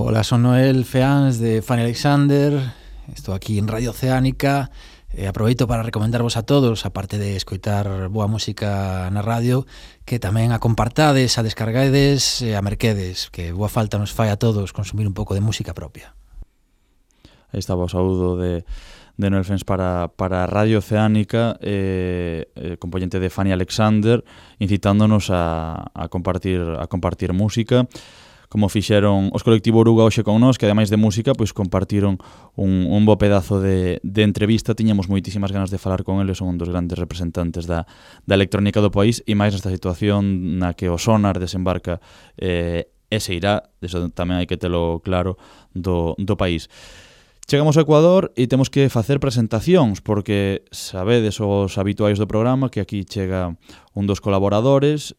Ola, son Noel Feáns de Fanny Alexander. Estou aquí en Radio Oceánica e aproveito para recomendarvos a todos, aparte de escoitar boa música na radio, que tamén a compartades, a descargades e a merquedes, que boa falta nos fai a todos consumir un pouco de música propia. Aí estaba o saúdo de Noel Feáns para Radio Oceánica, componente de Fanny Alexander, incitándonos a compartir música, como fixeron os colectivo Oruga hoxe con nós, que ademais de música, pois compartiron un bo pedazo de entrevista. Tiñamos moitísimas ganas de falar con eles, son un dos grandes representantes da electrónica do país, e máis nesta situación na que o Sonar desembarca e se irá, eso tamén hai que telo claro, do país. Chegamos ao Ecuador e temos que facer presentacións, porque sabedes os habituais do programa que aquí chega un dos colaboradores,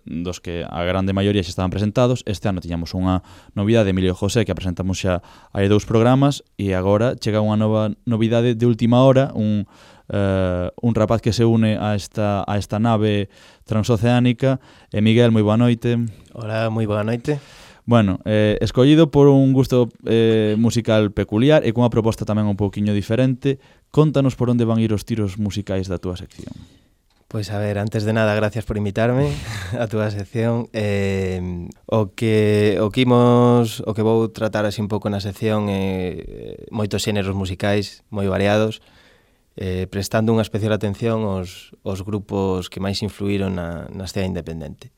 dos que a grande maioría xa estaban presentados. Este ano tiñamos unha novidade, Emilio José, que a presentamos xa hai 2 programas, e agora chega unha nova novidade de última hora, un rapaz que se une a esta nave transoceánica. Miguel, moi boa noite. Hola, moi boa noite. Bueno, escollido por un gusto musical peculiar e cunha proposta tamén un pouquiño diferente. Contanos por onde van ir os tiros musicais da túa sección. Pois a ver, antes de nada, gracias por invitarme a túa sección. O que vou tratar así un pouco na sección é moitos xéneros musicais moi variados, prestando unha especial atención aos grupos que máis influíron na escena independente.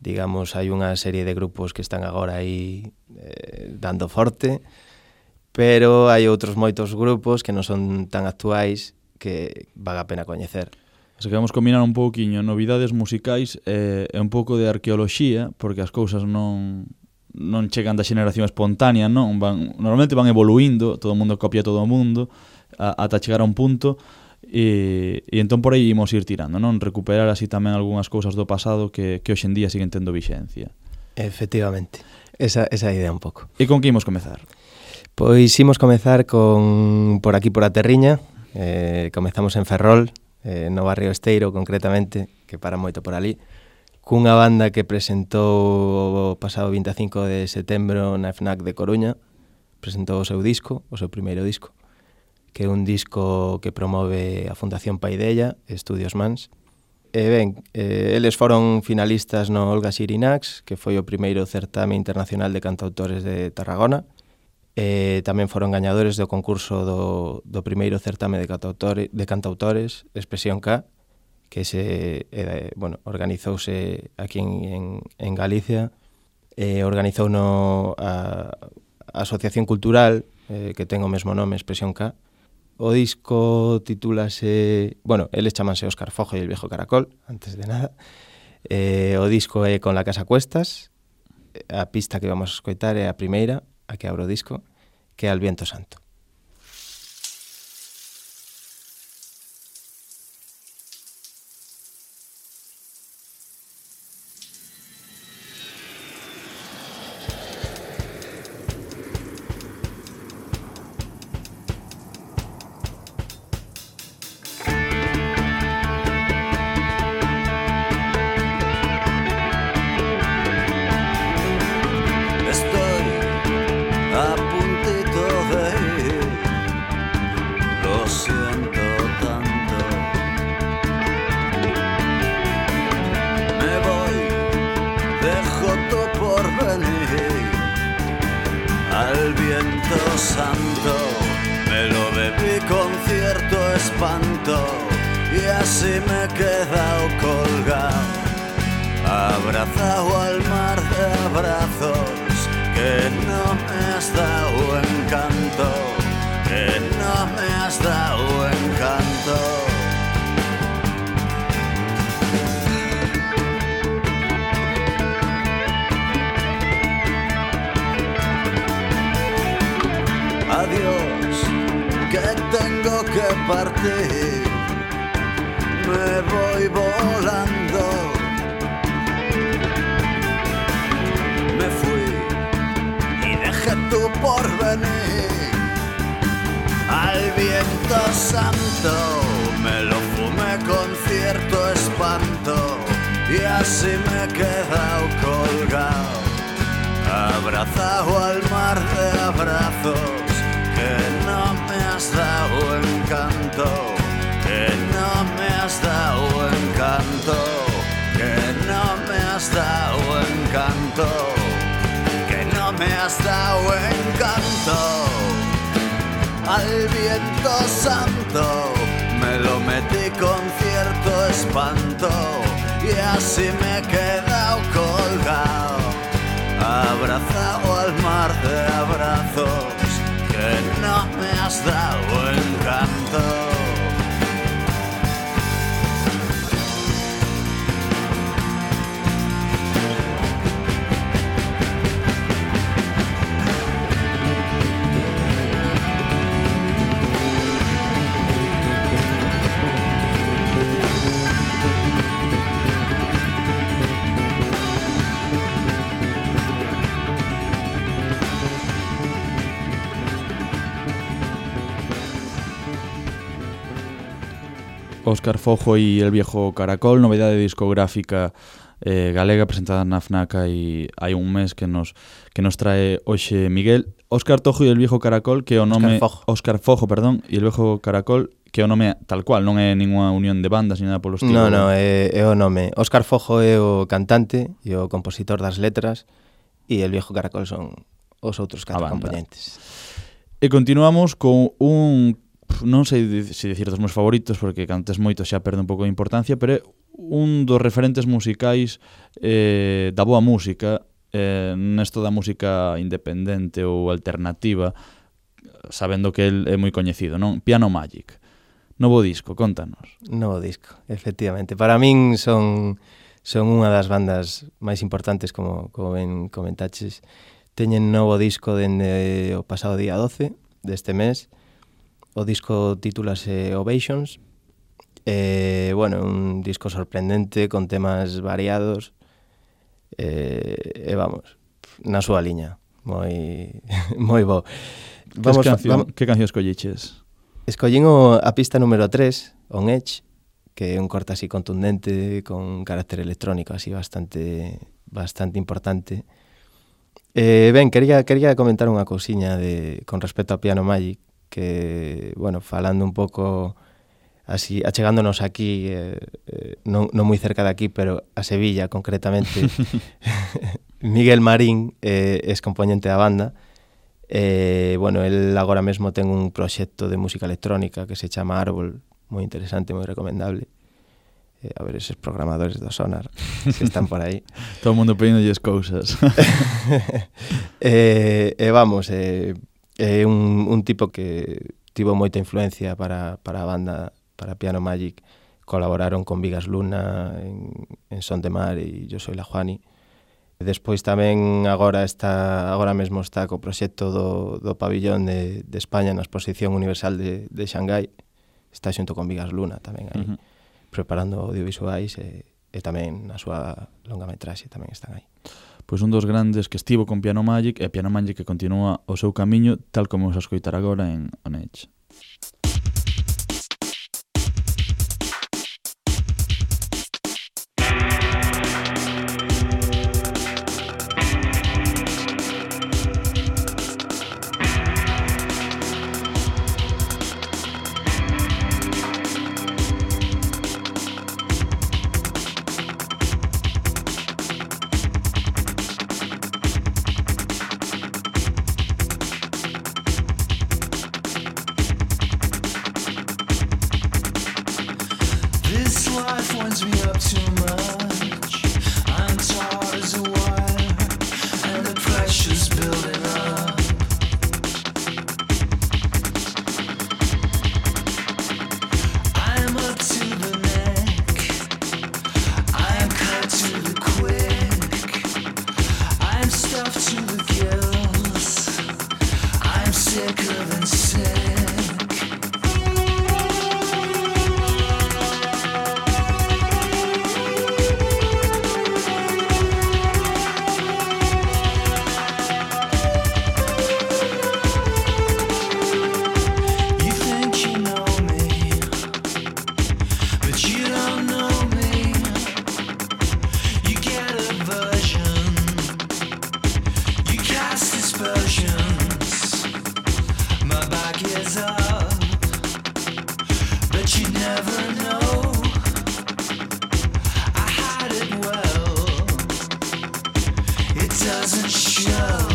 Digamos, hai unha serie de grupos que están agora aí dando forte, pero hai outros moitos grupos que non son tan actuais que vale a pena coñecer. Se queremos combinar un pouquiño novidades musicais e un pouco de arqueoloxía, porque as cousas non chegan da xeneración espontánea, non? Normalmente van evoluindo, todo o mundo copia todo o mundo, ata chegar a un punto. E entón por aí imos ir tirando, non? Recuperar así tamén algunhas cousas do pasado que hoxe en día siguen tendo vixencia. Efectivamente, esa idea un pouco. E con que imos comezar? Pois imos comezar por aquí por a Terriña. Comezamos en Ferrol, no barrio Esteiro concretamente, que para moito por ali, cunha banda que presentou o pasado 25 de setembro na FNAC de Coruña. Presentou o seu primeiro disco, que é un disco que promove a Fundación Paideia, Estudios Mans. E ben, eles foron finalistas no Olga Xirinacs, que foi o primeiro certame internacional de cantautores de Tarragona. Tamén foron gañadores do concurso do primeiro certame de cantautores, Expresión K, que organizouse aquí en Galicia. Organizouno a Asociación Cultural, que ten o mesmo nome, Expresión K. O disco titúlase... Bueno, eles chamanse Óscar Fojo e el viejo caracol, antes de nada. O disco é Con la casa a cuestas. A pista que vamos a escoitar é a primeira, a que abre o disco, que é Al viento santo. Adiós, que tengo que partir, me voy volando. Me fui y dejé tu porvenir. Al viento santo me lo fumé con cierto espanto y así me he quedado colgado abrazado al mar de abrazos, que no me has dado encanto, que no me has dado encanto, que no me has dado encanto, que no me has dado encanto. Al viento santo me lo metí con cierto espanto y así me he quedado colgado, abrazado al mar de abrazos, que no me has dado encanto. Óscar Fojo y El Viejo Caracol, novedade discográfica galega presentada na FNAC hai un mes que nos trae hoxe Miguel. Óscar Tojo e El Viejo Caracol, que o nome Óscar Fojo, perdón, e El Viejo Caracol, que o nome tal cual, non é ninguna unión de bandas ni nada polo estilo. No, é o nome. Óscar Fojo é o cantante e o compositor das letras e El Viejo Caracol son os outros 4 componentes. E continuamos con un, non sei se dicir dos meus favoritos, porque cantes moito xa perde un pouco de importancia, pero é un dos referentes musicais da boa música, nesto da música independente ou alternativa, sabendo que el é moi coñecido, non? Piano Magic. Novo disco, contanos. Novo disco, efectivamente. Para min son unha das bandas máis importantes, como ben comentaches. Teñen novo disco dende o pasado día 12 deste mes. O disco titúlase Ovations. Bueno, un disco sorprendente con temas variados vamos, na súa liña moi bo. Que canción escolliches? Escollín a pista número 3, On Edge, que é un corte así contundente con carácter electrónico así bastante importante. Ben, quería comentar unha cousiña con respecto a Piano Magic, que, bueno, falando un pouco así, achegándonos aquí, non moi cerca de aquí, pero a Sevilla concretamente, Miguel Marín é componente da banda. Bueno, el agora mesmo ten un proxecto de música electrónica que se chama Árbol, moi interesante, moi recomendable. A ver eses programadores do Sonar que están por aí. Todo o mundo pedíndolles cousas. Vamos, é un tipo que tivo moita influencia para a banda, para Piano Magic. Colaboraron con Vigas Luna en Son de Mar e Yo Soy la Juani. Despois tamén agora mesmo está co proxecto do pabillón de España na Exposición Universal de Xangai. Está xunto con Vigas Luna tamén aí, preparando audiovisuais e tamén na súa longametraxe tamén están aí. Pois un dos grandes que estivo con Piano Magic, e Piano Magic que continúa o seu camiño, tal como vamos a escoitar agora en On Edge. doesn't show.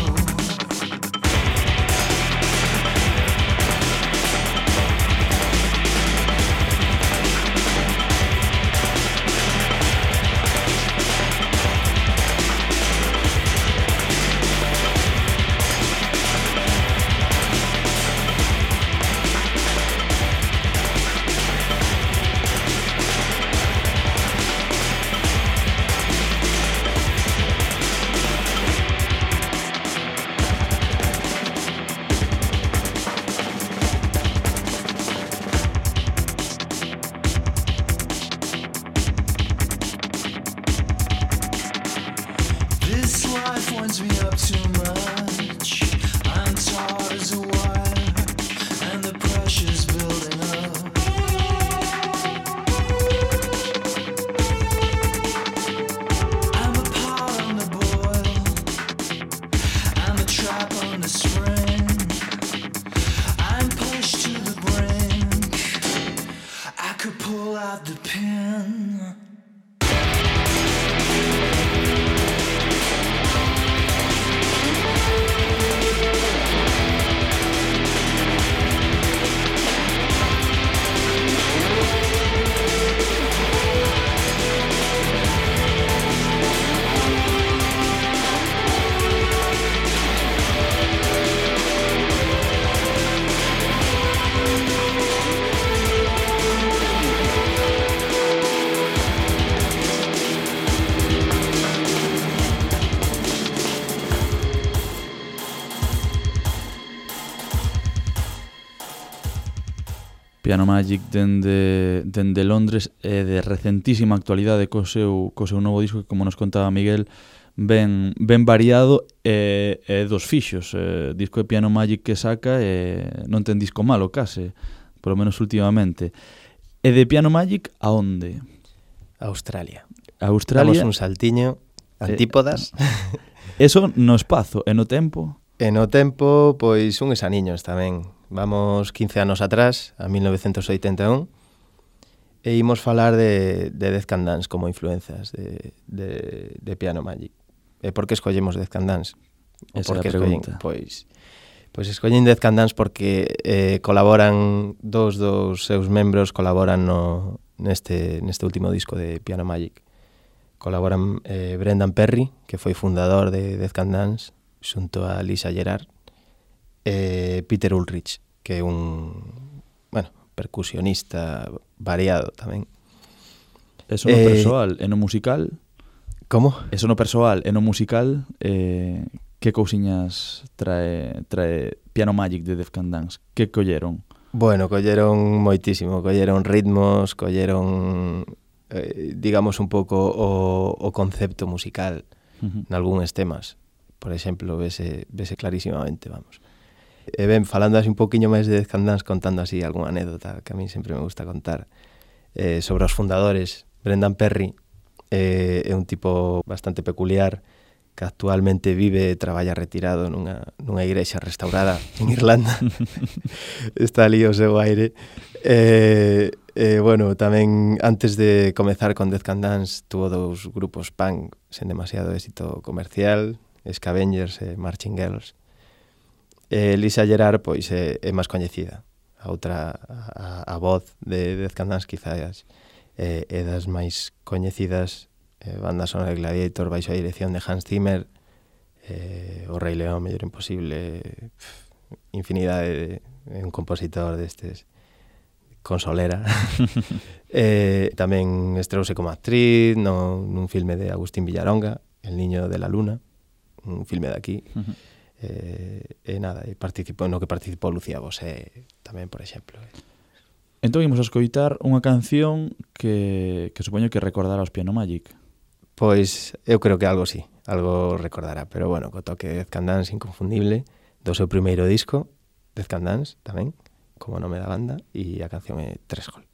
Piano Magic dende Londres e de recentísima actualidade co seu novo disco que, como nos contaba Miguel, ben variado e dos fixos. Disco de Piano Magic que saca non ten disco malo case, polo menos últimamente. E de Piano Magic a onde? Australia. Australia. Damos un saltiño, antípodas. Eso no espazo e no tempo? E no tempo, pois uns aniños tamén. Vamos 15 anos atrás, a 1981, e imos falar de Death Can Dance como influenzas de Piano Magic. E por que escollemos Death Can Dance? Esa é a pregunta. Pois escollen Death Can Dance porque colaboran dos seus membros colaboran neste último disco de Piano Magic. Colaboran Brendan Perry, que foi fundador de Death Can Dance, xunto a Lisa Gerrard, Peter Ulrich, que é un percusionista variado tamén. Eso no persoal e no musical? Como? Eso no persoal e no musical, que cousiñas trae Piano Magic de Death Can Dance? Que colleron? Bueno, colleron moitísimo, colleron ritmos, colleron digamos un pouco o concepto musical nalgúns temas. Por exemplo, vese clarísimamente, vamos. E ben, falando así un poquinho máis de Death Can Dance, contando así algunha anécdota que a mí sempre me gusta contar sobre os fundadores. Brendan Perry é un tipo bastante peculiar que actualmente vive e traballa retirado nunha igrexa restaurada en Irlanda. Está ali o seu aire. Bueno, tamén antes de comezar con Death Can Dance tuvo dous grupos punk sen demasiado éxito comercial, Scavengers e Marching Girls. Lisa Gerrard pois é máis coñecida. A voz de Death Can Dance quizás é das máis coñecidas, banda sonora de Gladiator baixo a dirección de Hans Zimmer, O Rei León, Mellor Imposible, infinidade de un compositor destes con solera. Tamén estreouse como actriz nun filme de Agustín Villaronga, El niño de la luna, un filme de aquí. Nada, participou Lucía Bosé tamén, por exemplo. Entón imos a escoitar unha canción que supoño que recordará os Piano Magic. Pois eu creo que algo sí, algo recordará, pero bueno, co toque de Death Can Dance inconfundible do seu primeiro disco, Death Can Dance tamén, como nome da banda, e a canción é Threshold.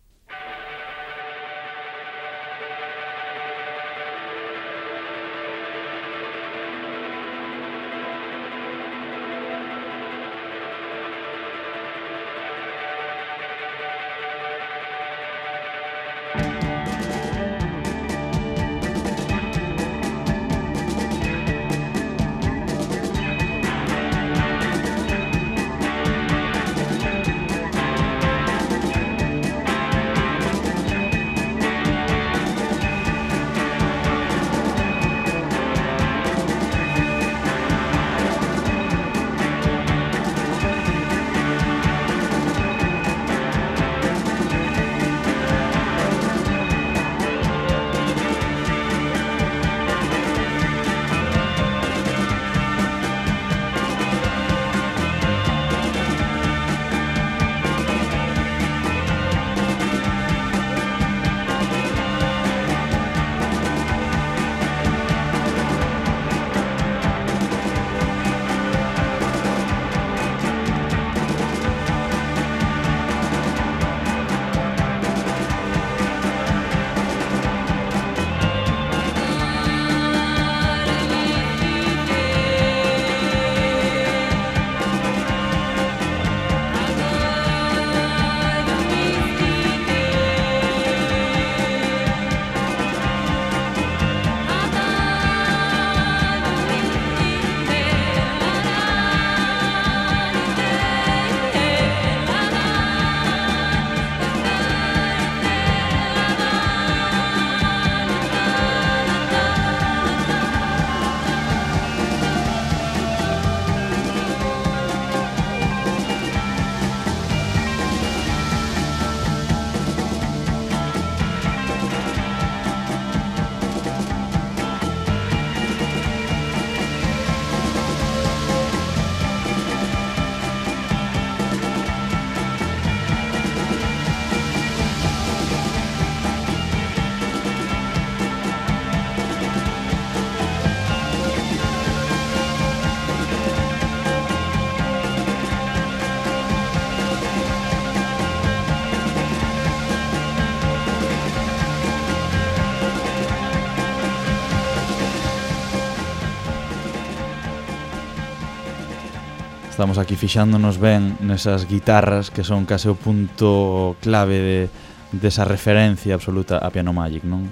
Estamos aquí fixándonos ben nesas guitarras que son case o punto clave desa referencia absoluta a Piano Magic, non?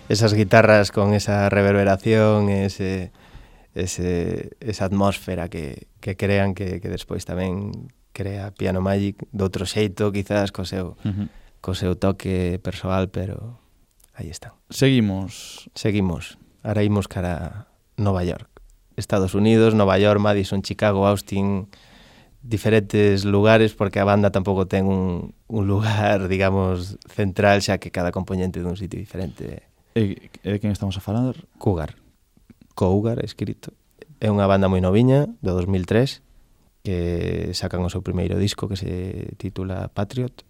Esas guitarras con esa reverberación, esa atmósfera que crean que despois tamén crea Piano Magic de outro xeito, quizás co seu toque persoal, pero aí están. Seguimos. Ahora imos cara Nova York. Estados Unidos, Nova York, Madison, Chicago, Austin, diferentes lugares, porque a banda tampouco ten un lugar, digamos, central, xa que cada componente dun sitio diferente. E de quen estamos a falar? Cougar, escrito. É unha banda moi noviña, do 2003, que sacan o seu primeiro disco que se titula Patriot.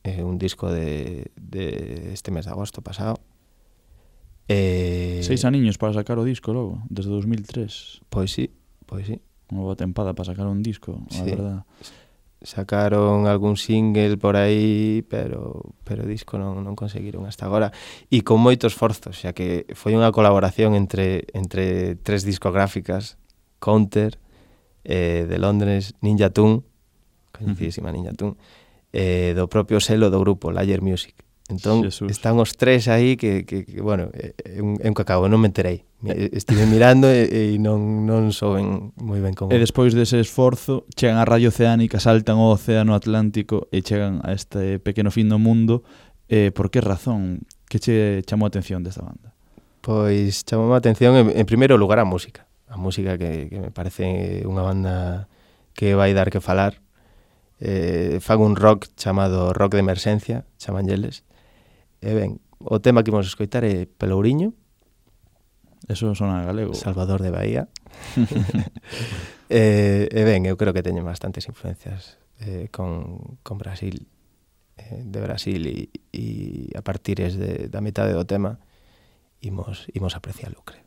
É un disco de este mes de agosto pasado. 6 aniños para sacar o disco logo, desde 2003. Pois sí. Unha boa tempada para sacar un disco, a verdad. Sacaron algún single por aí, pero disco non conseguiron hasta agora. E con moito esforzo, xa que foi unha colaboración entre 3 discográficas, Counter, de Londres, Ninja Tune, coñecidísima Ninja Tune, do propio selo do grupo, Layer Music. Entón, están os 3 aí que bueno, é un cacao, non me enterei. Estive mirando e non souben moi ben como. E despois dese esforzo, chegan a Radio Oceánica, saltan o Océano Atlántico e chegan a este pequeno fin do mundo. Por que razón? Que che chamou a atención desta banda? Pois chamou a atención en primeiro lugar a música. A música que me parece unha banda que vai dar que falar. Fan un rock chamado rock de emerxencia, chamanlles. E ben, o tema que imos escoitar é Pelouriño. Eso sona galego. Salvador de Bahía. E ben, eu creo que teñen bastantes influencias con Brasil, de Brasil, e a partir da metade do tema imos aprecialo, creo.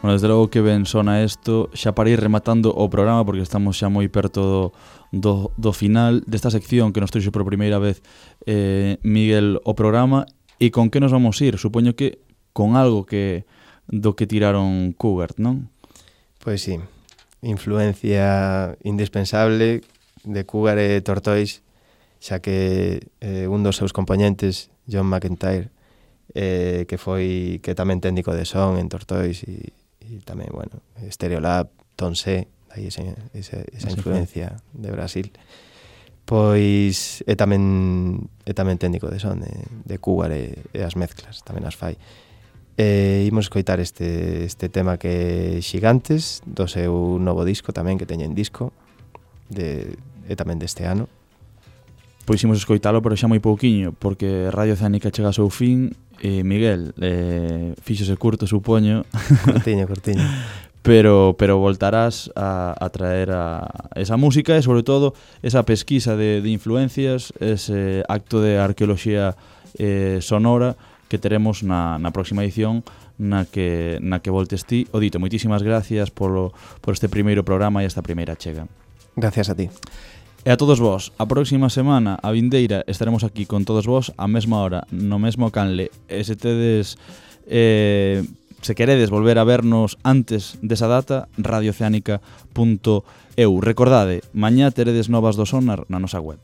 Bueno, desde logo que ben sona isto, xa para ir rematando o programa, porque estamos xa moi perto do final desta sección que nos trouxe por primeira vez Miguel o programa. E con que nos vamos ir? Supoño que con algo do que tiraron Cougar, non? Pois sí, influencia indispensable de Cougar e Tortoise, xa que un dos seus componentes, John McEntire, que tamén técnico de son en Tortoise e tamén, bueno, Stereolab, Tonse, aí esa influencia de Brasil. Pois é tamén técnico de son, de Cougar e as mezclas, tamén as fai. Imos escoitar este tema que é Xigantes, do seu novo disco tamén, que teñen disco, e tamén deste ano. Pois imos escoitalo, pero xa moi pouquiño, porque Radio Oceánica chega ao seu fin. Miguel, fíxose curto, supoño. Cortiño. Pero voltarás a traer esa música e, sobre todo, esa pesquisa de influencias, ese acto de arqueoloxía sonora que teremos na próxima edición na que voltes ti. O dito, moitísimas gracias por este primeiro programa e esta primeira chega. Gracias a ti. E a todos vós, a próxima semana, a vindeira, estaremos aquí con todos vós a mesma hora, no mesmo canle. E se tedes... se queredes volver a vernos antes desa data, radiooceánica.eu. Recordade, mañá teredes novas do Sonar na nosa web.